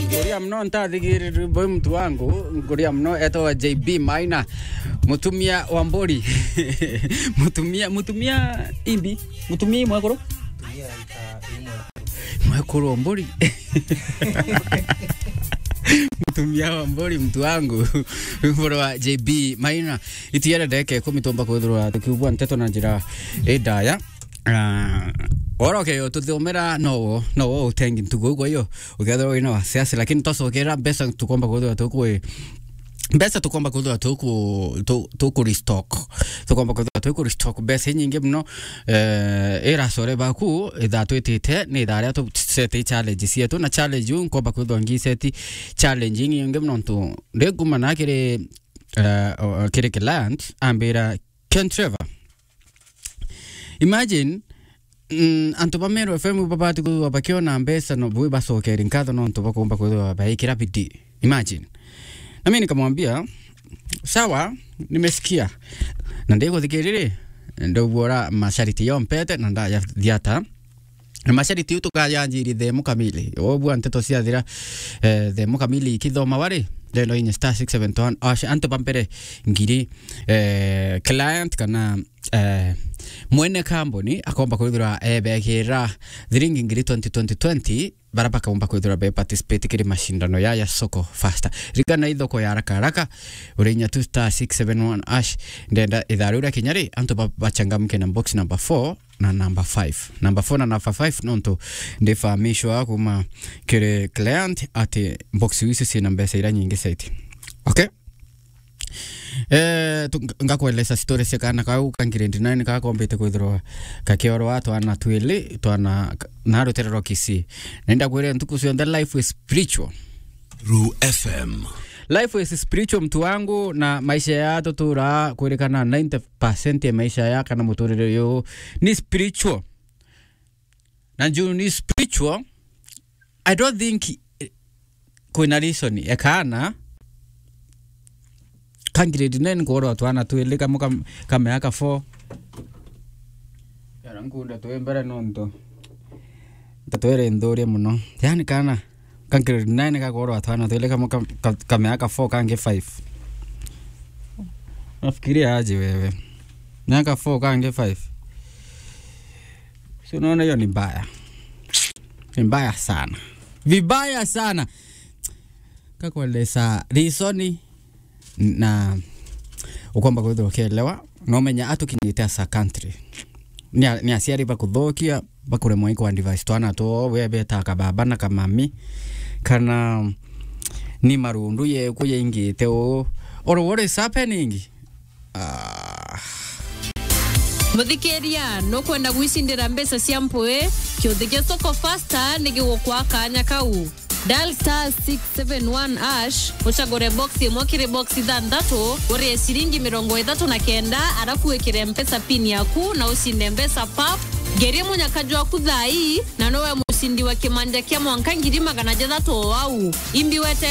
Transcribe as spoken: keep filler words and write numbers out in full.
Nguria mno ntathigiriri boy mtu wangu, nguria mno etwa J B Maina. Mutumia wa Mburi. Mutumia, mutumia imbi, mutumia mwekuru? Mwekuru wa Mburi. Mutumia wa Mburi mtu wangu. Mburu wa J B Maina. Itiere ndeke ikumi tumba kwithirwa tukiugua nteto na njira indaya. Ah, oro ke yo tuthomera no wo, no wo utengi ntugo kwa hiyo. Ukethirwa wina wasiasi, lakini twacokera mbeca tukomba kwithirwa tuku, mbeca tukomba kwithirwa tuku, tu-, tuku restock. Tukomba kwithirwa tuku restock mbeca inyingi muno, eh, ira core baku, ithaa twitite, ni ithaa ria tu set challenge cietu, na challenge iu nkomba kwithirwa ngi set challenge inyingi muno ntu ndi kuma na kiri, eh, o-, kiri client, ambira, "Ken Trevor, imagine, mm, antu ba Meru F M babati kwithirwa bakiona mbeca no bwi bacokeri nkatho nontu bakumba kwithirwa baikira bidii. Imagine." Na mimi nikamwambia, "Sawa, nimesikia. Na ndiguthikiriri, ndauguora mashariti yo mpete na ndayathiata." Na mashariti iu tukayanjiri themu kamili. Wobua nteto ciathira, eh, themu kamili ikithoma wari, ndendo inye star six seven one, ash, antu ba mbere ngiri, eh, client kana, eh, mwene kambuni akomba kwithirwa ebekira thiringi ngiri twenty, twenty, twenty, bara bakaumba kwithirwa be participate kiri mashindano ya, ya Soko Fasta. Rigana ithoko ya haraka haraka, urinya tu star six seven one ash, ndenda ithaa riu ria kinya ri, antu ba-, bachangamke na box number four, na number five. Number four na number five nontu ndifahamishwa kuma kiri client ati box icio ciina mbeca iria nyingi zaidi. Okay? Eh, tu-, nga-, ngakwelesa story cia kana kau ka grade nine kakombite kwithirwa kakiorwa twana twili, twana k-, na rutere rwa Kisii. Na indakwire ntuku cionthe life is spiritual. Ru F M. Life is spiritual, mtu wangu, na maisha ya tutura kwirikana ninety percent ya maisha ya kana muturire uyu ni spiritual. Na juu ni spiritual, I don't think, eh, kwina reason ya kana ka grade nine kuorwa twana twili kamwe kam-, ka miaka four. Yara nkunda twi mbere nontu ntatwire nthurie muno. Yani kana ka grade nine gakorwa twana twili kamwe ka, ka, ka miaka four kangi five. Nafikiria aje wewe? Miaka four kangi five. Si unaona hiyo ni mbaya? Ni mbaya sana. Vibaya sana. Kakueleza reason na ukomba kwithirwa ukielewa, na umenya atukinyite as a country. Ni a-, ni aciari bakuthukia, bakuremwa i ku advise twana twoo, we beta kababa na kamami, kana ni marundu yeku yaingite uu. Or what is happening? Ah. Muthikiria, nukwenda gwicindira mbeca cia mpui? Kiuthi gia Soko Fasta ni gigukwa kanya kau. Dial star six seven one hash, ucagure box imwe kiri box ithanthatu, urie ciringi mirongo ithatu na kenda, arafu wikire mpesa pin yaku na ucinde mbeca pap. Ngerie munyaka jwaku thaa ii, na nowe mucindi wa kimanja kia mwanka ngiri magana jathatu o au. Imbi wete